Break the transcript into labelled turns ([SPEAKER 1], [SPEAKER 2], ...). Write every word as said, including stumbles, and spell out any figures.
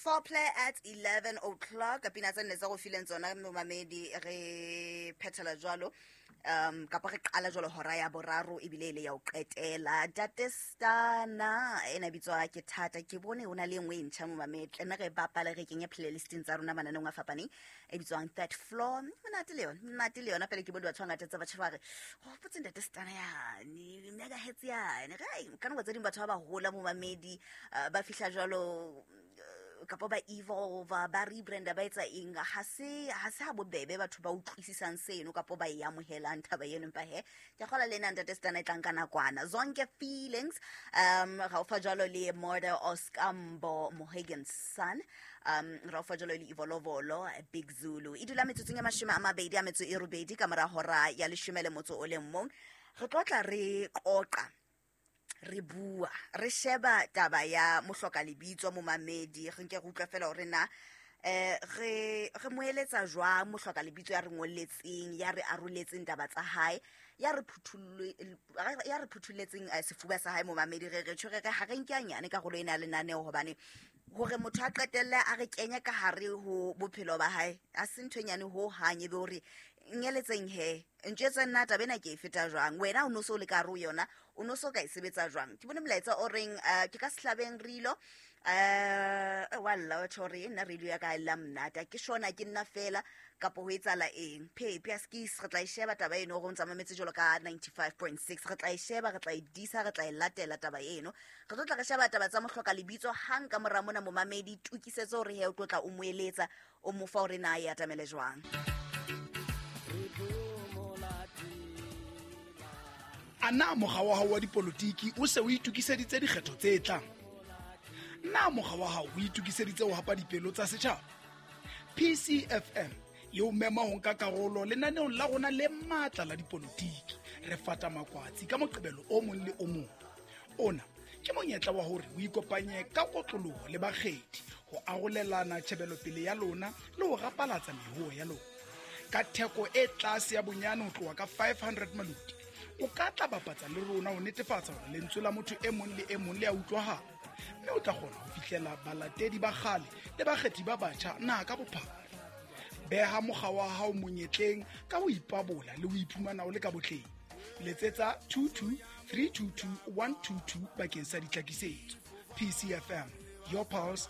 [SPEAKER 1] Foreplay at eleven o'clock. Pina tse nne tsa go fileng tsona momamedi, re phethela jwalo, um kapa re qala jwalo hora ya boraro ebile e le ya ho qetela. Ntate Stana ena bitswa ke thata, ke bone ho na le e nngwe e ntjha momamedi, tla nne re bapale, re kenye playlisting tsa rona mananeong a fapaneng, e bitswang Third Floor. Monate le yona, monate le yona. Pele ke bone batho ba ngata tsa batjha ba re hopotse ntate Stana yane megahertz yane. Ai, ka nako tse ding batho ba ba hola momamedi, eh, ba fihla jwalo, eh, kapa ba evolve, ba rebranda, ba etsa eng, ha se ha se ha bobebe batho ba utlwisisang seno kapa ba e amohelang taba eno. Empa he, ke kgola le ena ntate Stana e tlang ka nakwana, Zonke Feelings, um ra o fa jwalo le Murder Oskambo Mohegan Sun, um ra o fa jwalo le Ivolovolo Big Zulu. E dula metsotsong e mashome a mabedi a metso e robedi ka mora hora ya leshome le motso o le mong. Re tlo tla re qoqa, re bua, re sheba taba ya mohloka lebitso momamedi, re nke re utlwa fela hore na eh re re mo eletsa jwang mohloka lebitso ya re ngolletseng, ya re aroletseng taba tsa hae, ya re phuthulle, ya re phuthulletseng, eh, sefuba sa hae momamedi. Re re tjho, re re ha re nke hanyane karolo ena ya lenaneo, hobane hore motho a qetelle a re kenye ka hare ho bophelo ba hae a se ntho e nyane ho hang, ebe hore ngeletseng he ntjwetse nna taba ena ke e feta jwang, wena o no so le ka hare ho yona, o no so ka e sebetsa jwang. Ke bone molaetsa o reng, eh, ke ka sehlabeng rilo, eh, wa lla wa tjho hore nna radio ya ka e lla monate, ha ke shona ke nna fela kapo ho etsahala eng. Phepi askis, re tla e sheba taba eno hore o ntsa mametse jwalo ka ninety-five point six, re tla e sheba, re tla e disa, re tla e latela taba eno. Re tlo tla re sheba taba tsa mohloka lebitso hang ka mora mona momamedi, tokisetso hore he o tlo tla o mo eletsa, o mo fa hore na e atamele jwang.
[SPEAKER 2] A na mokga wa hao wa dipolotiki o se o itokiseditse dikgetho tse tlang? Na mokga wa hao o itokiseditse ho hapa dipelo tsa setjhaba? P C F M e o mema ho nka karolo lenaneong la rona le matla la dipolotiki. Re fata makwatsi ka Moqebelo o mong le o mong. Ona ke monyetla wa hore o ikopanye ka kotloloho le bakgethi ho arolelana tjhebelopele ya lona le ho rapalatsa mehoo ya lona. Ka theko e tlase ya bonyane ho tloha ka five hundred maloti, o ka tla bapatsa le rona ho netefatsa hore lentswe la motho e mong le e mong le a utlwahala, mme o tla kgona ho fihlela balatedi ba kgale le bakgethi ba batjha naha ka bophara. Beha mokga wa hao monyetleng ka ho ipabola le ho iphumana o le ka botleng. Letsetsa two two three two two one two two bakeng sa ditlhakisetso. P C F M, your pulse,